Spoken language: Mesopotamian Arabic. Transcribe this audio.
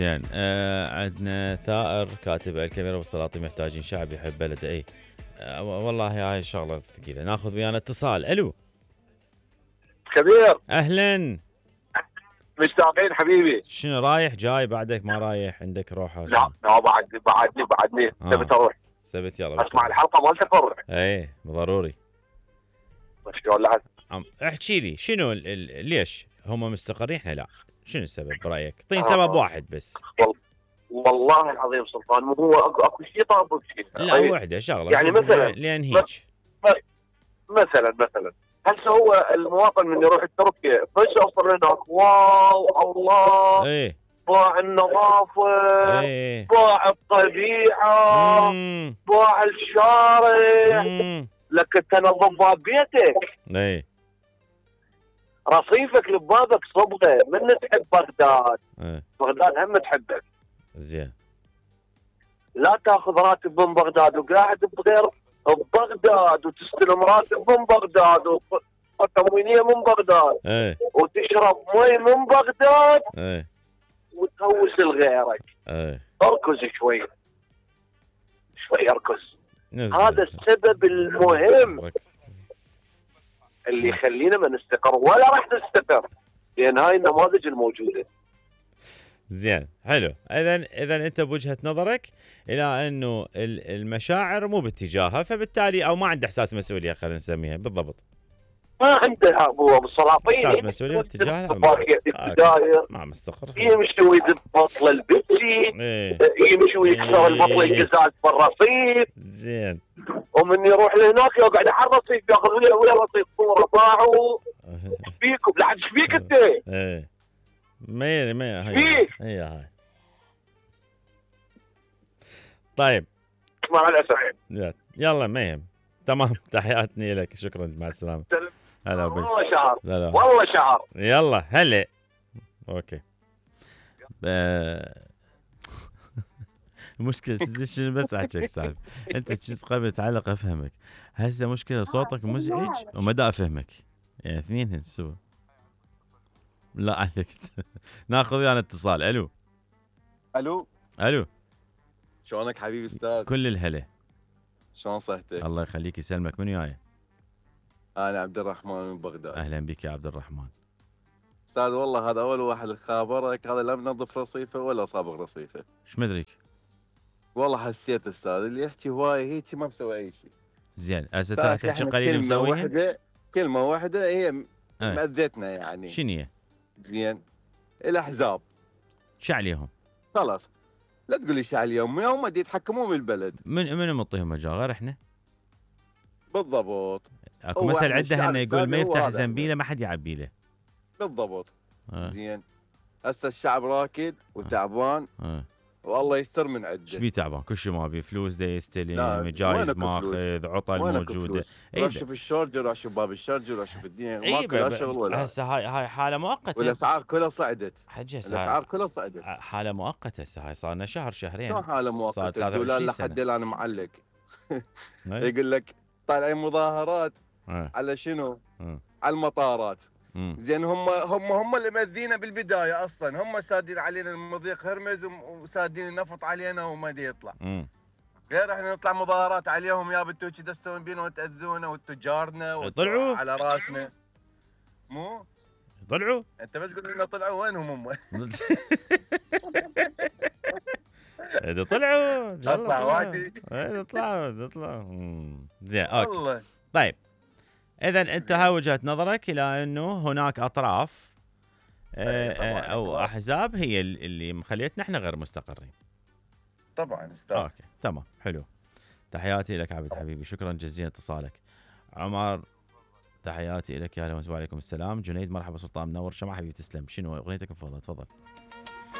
زين عندنا ثائر كاتب الكاميرا والسلاطين محتاجين شعب يحب بلده. اي والله هاي شغله ثقيله. ناخذ ويانا اتصال. الو كبير، اهلا. مشتاقين حبيبي. شنو رايح جاي بعدك ما رايح عندك روحه؟ لا بعدني تبي تروح سبت يلا اسمع الحلقه مالتك اروح. اي ضروري. شلون لحد احكي لي شنو ليش هم مستقرين احنا لا؟ شنو السبب برايك؟ اعطيني سبب واحد بس. والله العظيم سلطان، مو هو اكو شيء طابق شيء. لا وحده شغله يعني مثلا لان هيك مثلا هسه هو المواطن من يروح تركيا فش يوصل هناك واو الله. ايه باع النظافه. ايه باع الطبيعه. باع الشارع. لك تنظف بيتك. ايه رصيفك لبابك صبغه من تحب بغداد. ايه بغداد هم تحبك. زين. لا تاخذ راتب من بغداد وقاعد بغير ببغداد وتستلم راتب من بغداد وتموينيه من بغداد. ايه وتشرب مي من بغداد. ايه وتهوس لغيرك. ايه اركز شوي اركز. هذا السبب المهم اللي يخلينا ما نستقر ولا راح نستقر، لان هاي النماذج الموجوده. زين حلو. اذا انت بوجهه نظرك الى انه المشاعر مو باتجاهها، فبالتالي او ما عنده احساس مسؤوليه، خلينا نسميها بالضبط. ما عنده ابو السلاطين احساس مسؤوليه اتجاهها ما مستقر. يمشي ويضبط للبيبسي. يمشي ويكسر البطل القزاز بالرصيف. زين. ومن يروح لهناك يقعد على الرصيف ياخذ ويا رصيف صوره باعوا. ايش فيكم؟ لا ايش فيك انت؟ ايه ما هي طيب مع الاسف. يلا ما يهم. تمام. تحياتني لك. شكرا. مع السلامه. هلا بك. والله شعر. والله شعر. يلا هلا. اوكي. مشكلة شنو بس احكيك سالفة. انت كنت قبل تعلق افهمك، هسه مشكلة صوتك مزعج ومدى افهمك، يعني اثنين سوا. لا عليك. ناخذ ويانا اتصال. الو شلونك حبيبي استاذ؟ كل الهلا. شلون صحتك؟ الله يخليك يسلمك. من وياي؟ انا عبد الرحمن من بغداد. اهلا بك يا عبد الرحمن. استاذ والله هذا اول واحد خابرك، هذا لا منظف رصيفه ولا صابغ رصيفه. ايش مدريك؟ والله حسيت استاذ اللي يحكي هواي هيك ما مسوي اي شيء. زين هسه تحكي قليل مسويها. كلمه واحده هي مأذتنا يعني. شنو هي؟ زين الاحزاب شو عليهم؟ خلاص لا تقول لي شو عليهم، هم اللي يتحكمون بالبلد. من معطيهم مجال غير احنا؟ بالضبط. اكو مثل عنده انه يقول ما يفتح زنبيله ما حد يعبي له. بالضبط. زين هسه الشعب راكد وتعبان. والله يستر من عده. ايش بيه تعبان؟ كل شيء ما بيه فلوس، دا يستلم جايز ماخذ عطل موجوده. روح شوف الشارجر، روح شوف باب الشارجر، روح شوف الدنيا ماكو لا شغل ولا. هسه هاي حاله مؤقته. والاسعار كلها صعدت. الاسعار كلها صعدت. حاله مؤقته هسه. هاي صار لنا شهرين. شو حاله مؤقته؟ الدولار لحد الان معلق. يقول لك طالعين مظاهرات على شنو؟ على المطارات. زين هم اللي مذينا بالبدايه اصلا، هم سادين علينا المضيق هرمز وسادين النفط علينا وما دي يطلع. غير احنا نطلع مظاهرات عليهم، يا بنتو كذا تسوون بينا وتاذونا وتجارنا وطلعوا على راسنا. مو طلعوا؟ انت بس قول لنا طلعوا وينهم هم؟ اذا طلعوا اطلعوا وادي. اذا طلعوا. زين اوكي. طيب اذا انت هاي وجهة نظرك الى انه هناك اطراف او احزاب هي اللي مخليتنا احنا غير مستقرين. طبعا استاذ. اوكي تمام حلو. تحياتي لك عبد حبيبي. شكرا جزيلا اتصالك. عمر تحياتي لك. يا اهلا وسهلا. وعليكم السلام. جنيد مرحبا سلطان منور. شمع حبيبي تسلم. شنو اغنيتك المفضله؟ تفضل.